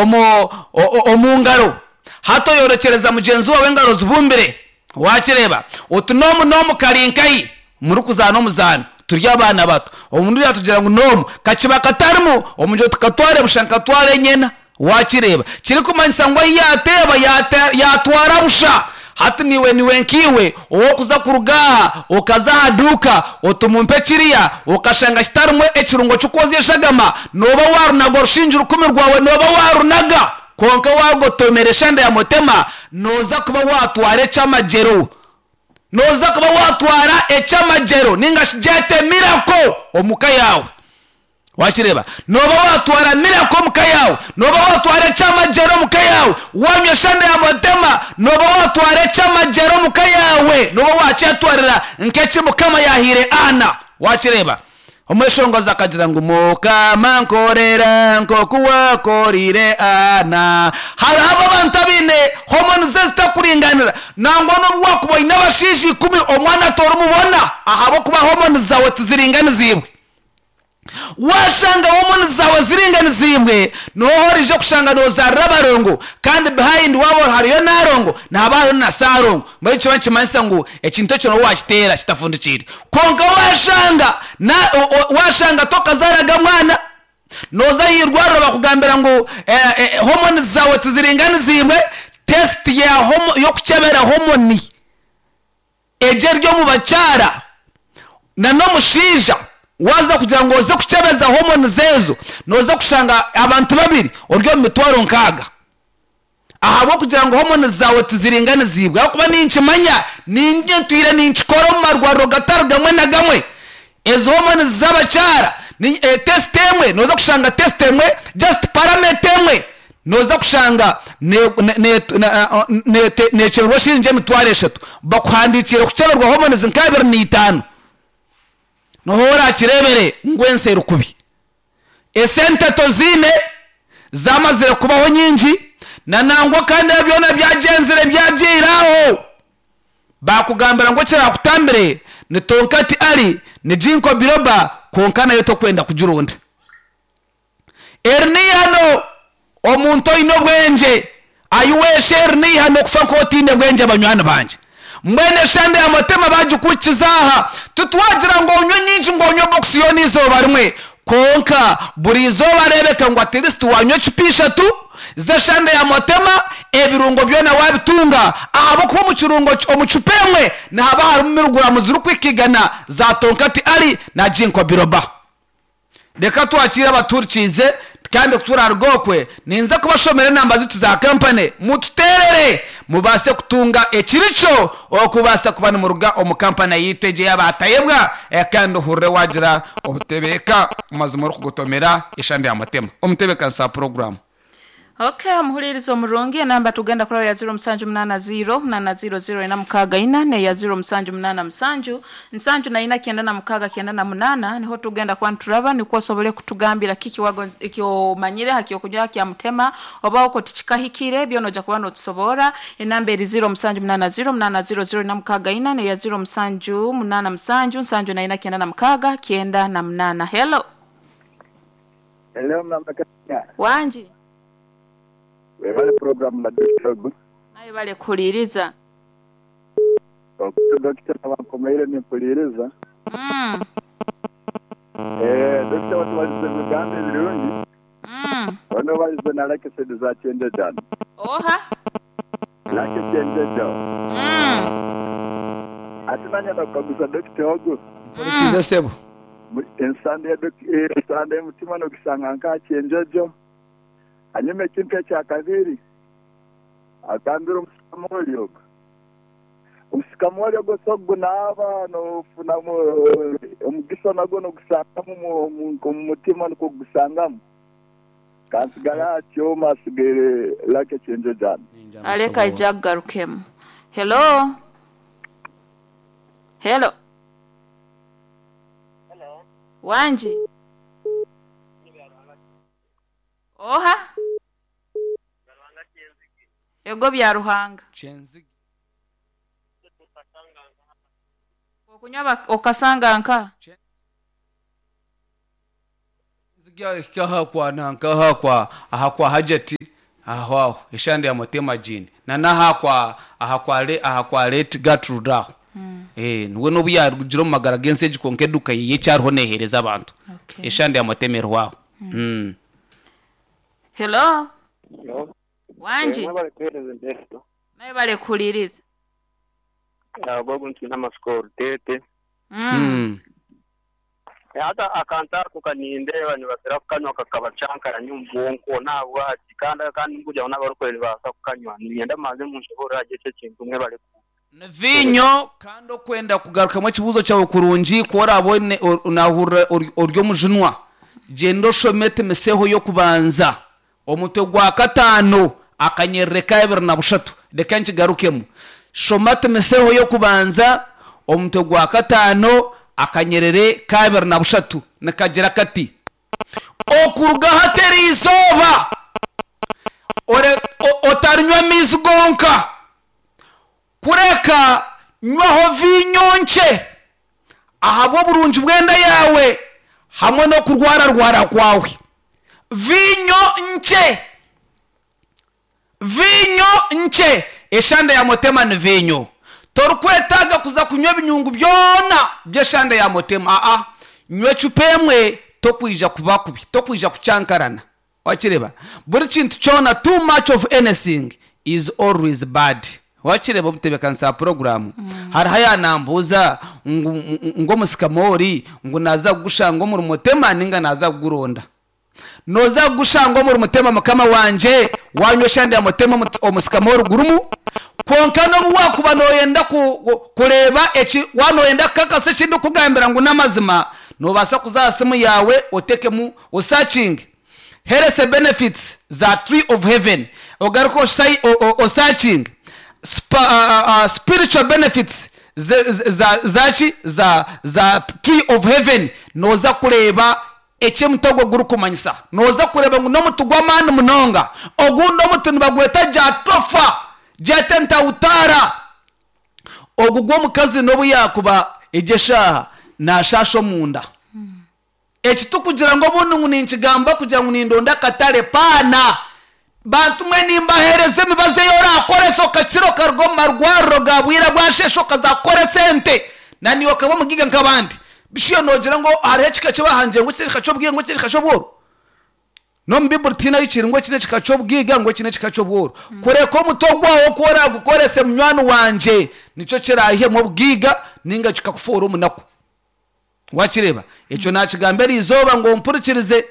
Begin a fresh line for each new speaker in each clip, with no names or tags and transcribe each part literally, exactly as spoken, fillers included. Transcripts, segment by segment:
omu omu ngaro. Hati oyorekyereza mugyenzi waawe engaro zibumbire. Waakireeba? Oti n'omu n'omu kari nkahi murikuzaana omuzaano turi abaana bato. Omuntu yaatugira ngu n'omu kakiba katarimu omugira oti katware busha nkatwara enyena. Waakireeba? Kirikumanyisa ngu ahi yaateeba yaatwara busha. Hati niiwe niiwe nkaiwe ow'okuza kuruga aha okaza aha duuka oti mumpe kiriya okashanga kitarimu ekirungo ky'okwozya eshagama, nooba waarunaga orushingi rukumi rwawe nooba waarunaga. Kwonka waagotomera eshanda ya mutema, nooza kuba waatwara eky'amagyero. Nooza kuba waatwara eky'amagyero ninga shi gyete miracle omu ka yaawe. Wakireeba? Nooba waatwara miracle omu ka yaawe. Nooba waatwara eky'amagyero omu ka yaawe. Waanywa eshanda ya mutema, nooba waatwara eky'amagyero omu ka yaawe. Nooba waakyetwarira nk'eki Mukama yaahaire Anna. Wakireeba? Omweshongozi akagira ngu Mukama nkorera nk'oku waakoreire Anna. Hariho abo abantu abaine hormones ezitakuringanira. Nangwa n'obu waakuba oine abashaija ikumi, omwana torimubona ahabw'okuba hormones zaawe tiziringaniziibwe. Waashanga hormones zaawe ziringaniziibwe, niho oriija kushanga noozaarira abarongo kandi behind waaba hariyo naarongo nihaba hariyo na saarongo. Mbwenu nikiba nikimanyisa ngu ekintu ekyo nooba waakiteera kitafundikiire. Kwonka waashanga na waashanga tokazaaraga mwana, nooza aha irwariro bakugambira ngu hormones zaawe tiziringaniziibwe, test ya y'okukyebera hormone egyo eri omu bakyara n'omushaija waaza kugira ngu oze kukyebeza hormones ezo, nooza kushanga abantu babiri ori omu mitwaro nkaaga. Ahabw'okugira ngu hormones zaawe tiziringaniziibwe. Ahabw'okuba ninkimanya, niinye ntwire ninkikora omu marwariro gatari gamwe na gamwe. Ezi hormones z'abakyara, test emwe nooza kushanga test emwe just parameter emwe nooza kushanga neekyeberwa shiringi emitwaro eshatu. Bakuhandiikiire kukyeberwa hormones nka abiri na itaano. Niho oraakireebere ngu ensi eri kubi. Esente toziine, zaamazire kubaho nyingi, na nangwa kandi ebyo byona byagyenzire byagiire aho. Baakugambira ngu ekiraakutambire ni tonkati ali, ni ginkgo biloba, kwonka nayo tokwenda kugironda. Eri n'eihano omuntu oine obwengye ayiweesha eri n'eihano kufa nk'otaine bwengye banywani bangye. Mbwenu eshande ya mutema baagikukiza aha. Titwagira ngu onywe nyingi ngu onywe bokisi yoona eizooba rimwe. Kwonka buri izooba reebeka ngu at least waanywa ecupa ishatu z'eshande ya mutema, ebirungo byona waabitunga ahabw'okuba omu kirungo omu cupa emwe nihaba harimu miriguraamu zirikuhika igana za tonkati ali na ginkgo biloba. Reka twakiire abatuhurikiize kandi ku turaaruga okwe ninza kubashomera enamba zaitu za kampani mututeerere mubaase kutunga ekirikyo okubaasa kuba nimuruga omu kampani yaitu egyo ey'abaatayebwa kandi ohurire waagira obutebeeka mazima orikugotomera eshande ya mutema. Omutebeekanisa wa puroguraamu.
Okay, omuhuririza omurungi enamba tugenda kuraba ya ziro musanju munaana ziro munaana ziro ziro ina mukaaga ina neya ziro musanju munaana musanju nsanju na ina kyenda na mukaaga kyenda na munaana niho tugenda kuba nituraba nikwo osobole kutugambira kiki wagonza ekyomanyire ha kyokunywa kya mutema oba oko tikikahikire byona ojja kuba notusobora. Enamba eri ziro musanju munaana ziro munaana ziro ziro ina mukaaga ina neya ziro musanju munaana musanju nsanju na ina kyenda na mukaaga kyenda na munaana. Hello.
Hello, Mama Kenya.
Wangi.
Webale program na Dokita Ogu.
Naye bale kuhuliriza.
Okutu Dokita bankomeire nimpuliriza.
Mm.
Eh, Dokita watubalize ebigambo ebirungi.
Mm.
Ono balize na like sente za kyenjeja.
Oha.
Like kyenjeja.
Mm.
Ati nanye nakukaguza Dokita Ogu.
Mpurikize sebo.
Ensande ya dok- ensande y'omutima nokusanga nka kyenjojo. Hanyuma ekintu ekya kabiri agambira omusikamoli ogwo. Omusikamoli ogwo so gunaaba nofunamu omugisa nagwo nogusangamu mu- omu mutima nikwo gusangamu. Kansigara atyo masigaire lake kyenjojana.
Aleka ija kugarukemu. Hello. Hello. Wangi. Oha. Ego bya Ruhanga. Okunywa okasanga nka.
Hika kwa nankaha kwa aha kwa hajati aho aho eshande ya motema jini na naha kwa aha kwa le aha kwa late Gertrude aho eh niwe nobu yarugira omu magara g'ensi egi konka eduka yiye kyariho neehereza abantu.
Okay.
Eshande ya motema eriho mm.
Hello.
No.
Wangi.
Mwebale kuheereza endeeto.
Naye balekuhuliriza.
Agogo nti n'amasiko rutete.
Mm.
Mm.
Hata akantu ako kanindeeba nibatera kukanywa kakabacankaranya omu bwonko nabwaki kandi kandi nkugira n'abarikore nibabaasa kukanywa ninyenda maze munshobora agye ekyo ekintu mwebale ku
Ni vinyo kandi okwenda kugarukamu ekibuuzo kyawe kurungi ku orabone nahurira ori omujunwa, gyenda oshome timiseho y'okubanza omutwe gwa kataano akanyerere ka ebiri na bushatu. Reka nkigarukemu, shoma timiseho y'okubanza omutwe gwa kataano akanyerere ka ebiri na bushatu, nikagira kati: okuruga hateri izooba ore- o- otarinywa amaizi gonka, kureka nywaho vinyo nkye ahabw'oburungi bw'enda yawe hamwe n'okurwararwara kwawe. Vinyo nkye, vinyo nkye. Eshanda ya motema ni vinyo, torikwetaaga kuza kunywa ebinyungu byona by'eshanda ya motema. Aa, nywa ecupa emwe, tokwija kuba kubi, tokwija kucankarana. Wakireba buri kintu kyona, too much of anything is always bad. Wakireba omutebekanisa poroguramu hariho ayanambuuza ngu ngu omusikamori ngu naza kugushanga omuri mutema ninga naza kuguronda. Noza kugushanga omuri mutema, mukama wanje, wanywa eshande ya mutema omu- omusikamori gurumu. Konka nobu wakuba noyenda ku- ku- kureeba eki wanoyenda kukakasa ekindi kugambira ngu n'amazima, nobaasa kuza aha simu yawe otekemu osakinge health benefits za tree of heaven, ogaruka osai- o- o- osakinge Spa, uh, uh, spiritual benefits ze- ze- za zaki za za tree of heaven. Noza kureeba ekyemutego gurikumanyisa, noza kureeba ngu n'omuti gw'amaani munonga. Ogundi omuti nibagweta jatofa jatentautara, ogu gw'omukazi n'obu yakuba egyeshaaha nashasha omunda. Eki tukugira ngu obundi ngu ninkigamba kugira ngu nindonda akatare paana. Bantu mwe, nimbahereza emibazi eyi orakoresa okakira okaruga omu marwariro ga bwira bwashesha okazakukora esente na niwe okaba omugiga nk'abandi. Bishiyo nogira ngu hariho ekika kibahangire ngu eki n'ekika ky'obwiga, ngu eki n'ekika ky'obworo. N'omu biburi tihaine kiri ngu eki n'ekika ky'obwiga, ngu eki n'ekika ky'obworo. Kureka omutwe gwawe oku oragukorese, munywani wanje, nikyo kirahemu obwiga ninga kikakufuura omunaku. Wakireba ekyo nakigamba eri izooba ngu ompurikirize,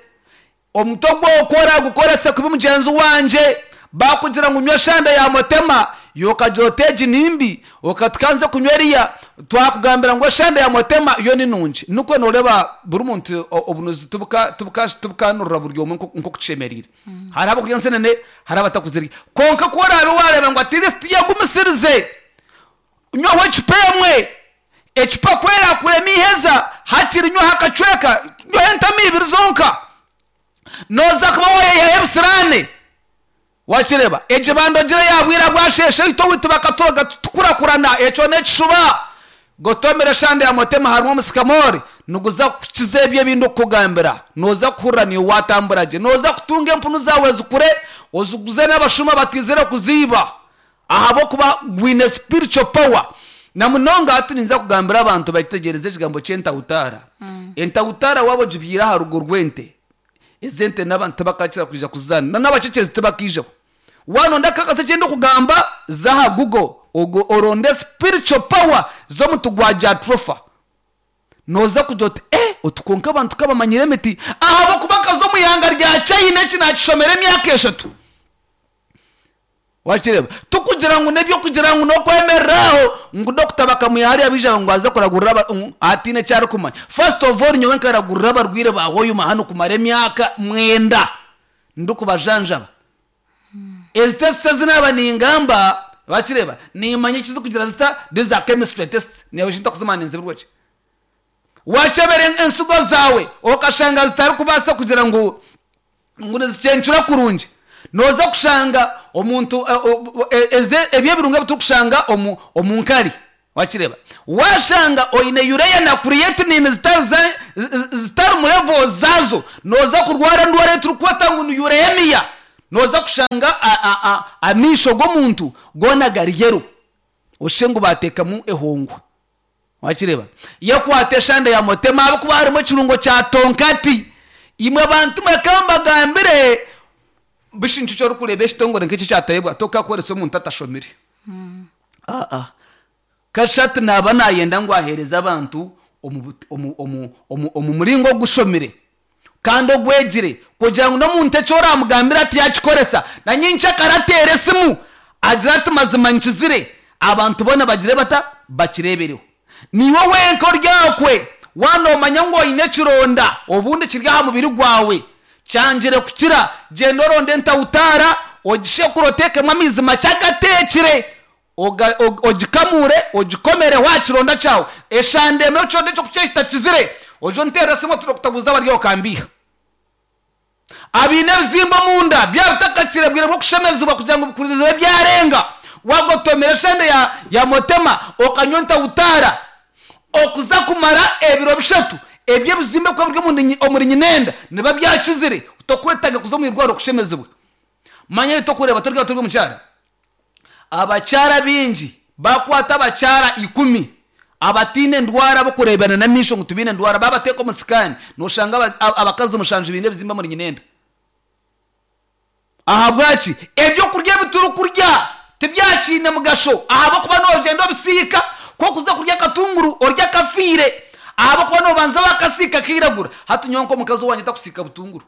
omutwe gwawe oku oragukorese kubi, mugyenzi wanje, bakugira ngu nywa shanda ya motema, yokagira oti egi nimbi, okatukanze kunywa eriya. Twakugambira ngu eshanda ya motema yo ni nungi. Nikwo noreeba buri muntu o- obunuzi tubuka- tubuka- tubukanurira buri omwe nko- nk'okutushemereire. Hariho abakurya ensenene, hariho abatakuzirya, konka ku oraabe wareeba ngu at least yagumisirize, nywaho ecupa emwe. Ecupa kwera kurema iheza, hakiri nywaho akacweka, nywaho entama ibiri zonka, noza kuba wayeyihaho ebisirane. Wakireba egi bandogire yabwira bwasheshe ito witu bakaturoga tukurakurana, ekyo n'ekishuba. Gotomera eshande ya motema, harimu omusikamori niguza kukiza ebyo ebindi okukugambira. Noza kuhurira niwe watambura gye, noza kutunga empunu zawe zikure, oziguze n'abashuma batizire kuziiba ahabwokuba gwine spiritual power. Na munonga hati ninza kugambira abantu bakitegereze ekigambo ky'entawutara. Entawutara waba ogibyire aha rugo rw'ente, ezente n'abantu tibakakira kwija kuzaana na n'abacekyezi tibakiijaho. Wanonda kakase kyenda okugamba, zaha Google ogo oronde spiritual power z'omuti gwa jatropha, noza kugira oti eh otukonka abantu kabamanyire emiti ahabwokuba nkaza omu ihanga rya China. Eki nakishomera emyaka eshatu. Wakireba tukugira ngu nebyokugira ngu nokwemereraho ngu dokita bakamuha hariya bija ngu aze kuragurira aba- ngu atiine ekyarikumanya. First of all, nyowe nkaragurira abarwire bahoyuma hano kumara emyaka mwenda ndikubajanjaba. Ezi test ezinaba ningamba, bakireba nimanya ekizi kugira zita. These are chemistry tests, newe shintakuzimana nzibirweki. Wacebera ensigo zawe okashanga zitarikubaasa kugira ngu ngu nizikyencura kurungi, noza kushanga omuntu eh, o- o- e- eze- ebyo ebirunga ebitukushanga omu omu nkari. Wakireba washanga oine urea na creatinine zitari za- zi- zitari mu level zazo, noza kurwara endwara eturikweta ngu ni uremia. Noza kushanga a- a- a- amisho g'omuntu goona gari yellow, oshe ngu bateekamu ehongwa. Wakireba yakwata eshanda ya motema ahabwokuba harimu ekirungo kya tonkati. Imwe bantu mweka mbagambire bishi nikyo orikureeba ekitongore nk'eki kyatarebwa tokakoresa omuntu atashomire. Aa kashati naba nayenda ngu aheereze abantu omu but- omu- omu- omu omu muringo ogushomire kandi ogwegire, kugira ngu n'omuntu eki oramugambira ati yakikoresa na nyinkya akarateera esimu agira ati mazima nkizire, abantu boona bagire bata bakireebereho. Niiwe wenka oryakwe wanomanya ngu oine ekironda obundi kiri aha mubiri gwawe kyangire kukira, gyenda oronde entawutaara ogishekure oteekemu amaizi makye agateekire, oga- og- ogikamure ogikomere wa kironda kyawe. Eshanda emwe ekironda ekyo kukye kitakizire, oje onteerere esimu oti Doctor bari okambiha. Abiine ebizimba omunda byaba bitakakire bwire bw'okushemezibwa kugira ngu bikurize byarenga, wagotomera eshanda ya, ya motema okanywa entawutaara okuza kumara ebiro bishatu, ebyo ebizimba kuba biri omuri nyi- omuri nyinenda niba byakizire, tokwetaga kuza omu irwariro kushemezibwa. Manya tokureeba turi turi omukyara, abakyara bingi bakwata abakyara ikumi abatiine endwara bokureebana n'amaisho ngu tibiine endwara, babateeka omu sikaani noshanga aba- aba- abakazi mushanju biine ebizimba omuri nyinenda. Ahabwaki? Ebyokurya ebi turikurya tibyakiine mugasho, ahabwokuba nogyenda obisiika kokuza kurya akatunguru orya akafiire, ahabwokuba nobanza bakasiika kiragura. Hati nyowe nk'omukazi owangye takusiika butunguru,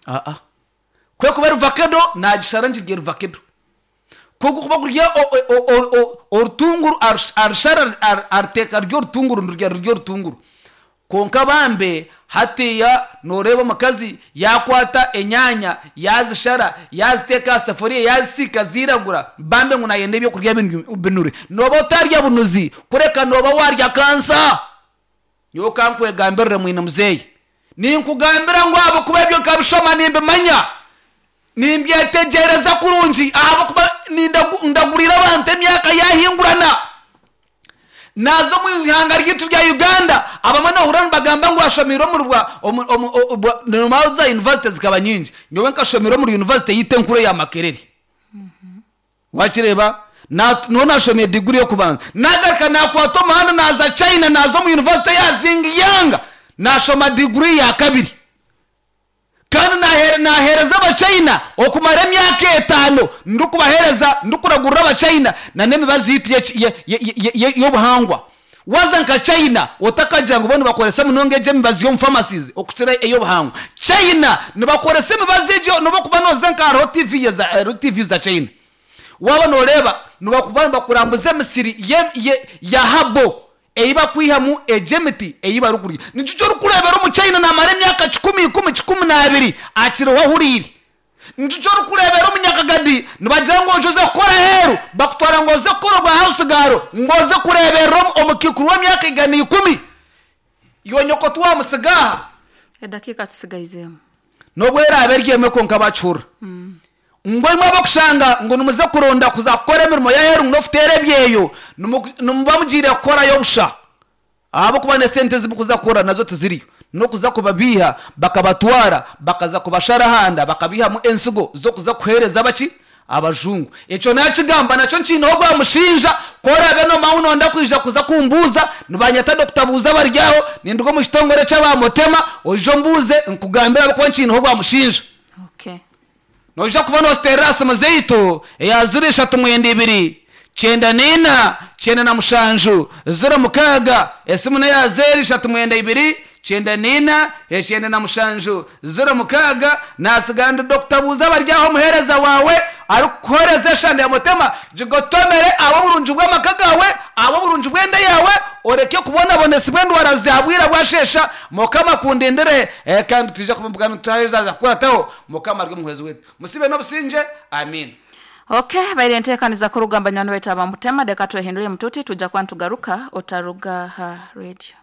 aa kwe kuba ruvakedo nagishara ngirya ruvakedo, kuba kurya o- o- o- o- orutunguru arush- arushara ar- aruteeka rurya orutunguru ndurya rurya orutunguru. Konka bambe hatiya noreeba omukazi yakwata enyanya yazishara yaziteeka aha safuriya yazisiika ziragura, bambe ngu nayenda ebyokurya binu- binure. Noba otarya bunuzi, kureka noba warya kansa. Nyowe kankwegambirire mwine muzeeyi, ninkugambira ngu ahabwokuba ebyo nkabishoma nimbimanya, nimbyetegereza kurungi, ahabwokuba nindagu- ndagurira abantu emyaka yahingurana. Naza omu ihanga ryitu rya Uganda, abamwe nohurira nibagamba ngu ashomeire omuri bwa omu- omu- o- bwa- nomara za university zikaba nyingi, nyowe nkashomera omuri university yiita enkuru eya Makerere. Wakireba Na- niho nashomeye diguri yokubanza, nagaruka nakwata omuhanda naza China, naza omu university ya Zingyang nashoma diguri ya kabiri, kandi nahere- nahereza abachina okumara emyaka etaano ndikubahereza ndikuragurira abachina na n'emibazi yitu y'eki- ye- ye- ye- ye- y'obuhangwa. Waza nka China otakagira ngu bo nibakoresa munonga egyo emibazi y'omu pharmacies okukira ey'obuhangwa. China nibakoresa emibazi egyo, nobakuba noza nka hariho T V za, hariho T V za China, waba noreeba nibakuba nibakurambuza emisiri ye- ye- ya habo ei bakwihamu egyo emiti ei barikurya. Nikyo kyorikureebera omu China namara emyaka kikumi ikumi kikumi n'abiri akiriho ahuriire. Nikyo kyorikureebera omunyakagadi nibagira ngu oje oze kukora aheeru, bakutwara ngu oze kukora obwa house girl, ngu oze kureeberera omu- omukiikuru w'emyaka igana ikumi, iwe nyoko tiwamusiga aha.
Edakiika tusigaizeemu.
Nobwo eraaba eri emwe konka bakihurira ngu imwe abakushanga ngu nimuze kuronda kuza kukora emirimo y'aheeru ngu n'okuteera ebyeyo, nimu- nimuba mugiire kukorayo busha, ahabwokuba n'esente zimukuza kukora nazo tiziriyo, n'okuza kubabiiha bakabatwara bakaza kubashara ahanda bakabihamu ensigo z'okuza kuheereza abaki abajungu. Ekyo nakigamba nakyo nkiineho gwamushinja korabe nomaho nonda kwija kuza kumbuuza, nibanyeta Doctor Buuza baryaho, ninduga omu kitongore ky'abamotema, oije ombuuze nkugambire ahabwokuba nkiineho gwamushinja.
Okay.
Noija kuba nositerera simu zeitu eya ziro ishatu mwenda ibiri kyenda n'ina kyenda na mushanju ziro mukaaga. Esimu neya zero ishatu mwenda ibiri kyenda n'ina ekyenda na mushanju ziro mukaaga. Nasiga ndi Doctor Buuza baryaho, omuheereza wawe arikukuhereza eshanda ya mutema, gigotomere abo burungi bw'amaka gawe, abo burungi bw'enda yawe, oreke kubonabonesibwa endwara zabwira bwashesha. Mukama kundindire, eh, kandi twije kumubugana tuhazaza kukurataho. Mukama ari omuhwezi wetu, musibe n'obusinge, amin.
Okay, baire enteekaniza kurugamba nywani baitu abamutema, deka twehindure mututi tujja kuba nitugaruka, otaruga ha radio.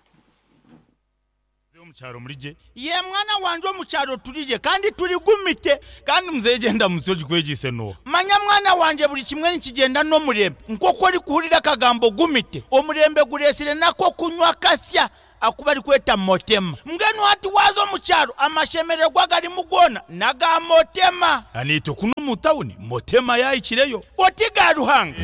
Omukyaro murije?
Ye mwana wanje, omukyaro turije kandi turigumite.
Kandi muzeyi genda musi ogikwegise noha?
Manya.
Noomanya mwana wangye, buri kimwe nikigyenda n'omurembe. Nk'oku orikuhurira akagambo gumite, omurembe gureetsire nako kunywa kasya aku barikweta Motema. Mbwenu hati waaza omu kyaro, amashemererwa agarimu goona n'aga Motema. Naitwe kunu omu tawuni Motema yaahikireyo. Oti ga Ruhanga!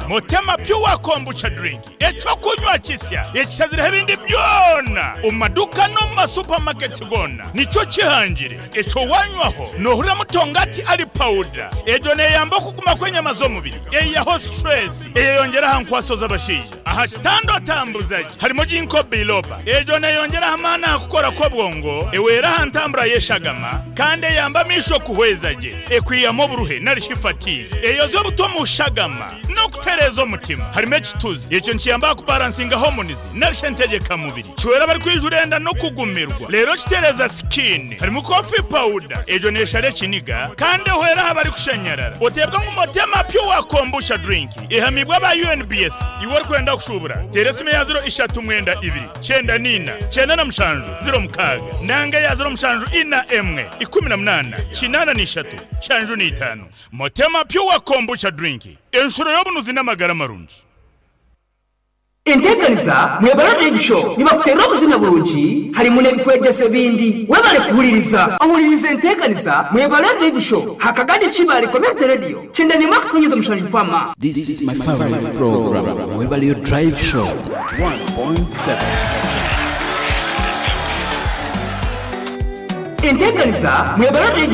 Motema Pure Kombucha Drink, ekyokunywa kisya ekishazireho ebindi byona omu maduuka n'omu masupamaketi goona, nikyo kihangire. Ekyo wanywaho noohurira mutongati ari pawuda. Egyo neeyamba okuguma kw'enyama z'omubiri, eihaho situresi, eyeyongyera aha nkwaso z'abashaija. Aha kitanda otambuza gye. Harimu Ginkgo biloba. Egyo neeyongyera aha maani aha kukora kw'obwongo, ehwera aha ntambura y'eshagama, kandi eyamba amaisho kuhweza gye. Ekwihamu oburuhe nari shi fatigue. Eyozya obutwa omu shagama n'okutereeza omutima. Harimu ekituzi. Ekyo nikiyamba aha kubaransinga hormones nari shi entegyekamubiri. Kihwera abarikwijura enda n'okugumirwa. Reero kitereeza skin. Harimu coffee powder. Egyo neeshara ekiniga kandi ehwera aha barikushanyarara. Oteebwa ngu Motema Pure Kombucha Drink ehamiibwe aba U N B S. Iwe orikwenda kushuubura, teera esimu eya ziro ishatu mwenda ibiri, kyenda n'ina, kyenda na mushanju, ziro mukaaga, nanga eya ziro mushanju ina emwe, ikumi na munaana, kinaana n'ishatu, nshanju n'itaano. Motema Pure Kombucha Drink, enshuro y'obunuzi n'amagara marungi.
Enteekaniza Mwebale Live Show nibakuteerera obuzina burungi, harimu n'ebikwegyesa ebindi. Webale kuhuririza. Ohuririza enteekaniza Mwebale Live Show hakagandi Kibaale Community Radio, kyenda n'emwe akatonyeza mushanju fama.
This is my favorite program, Mwebale Drive Show one point seven.
Enteekaniza Mwebale Live.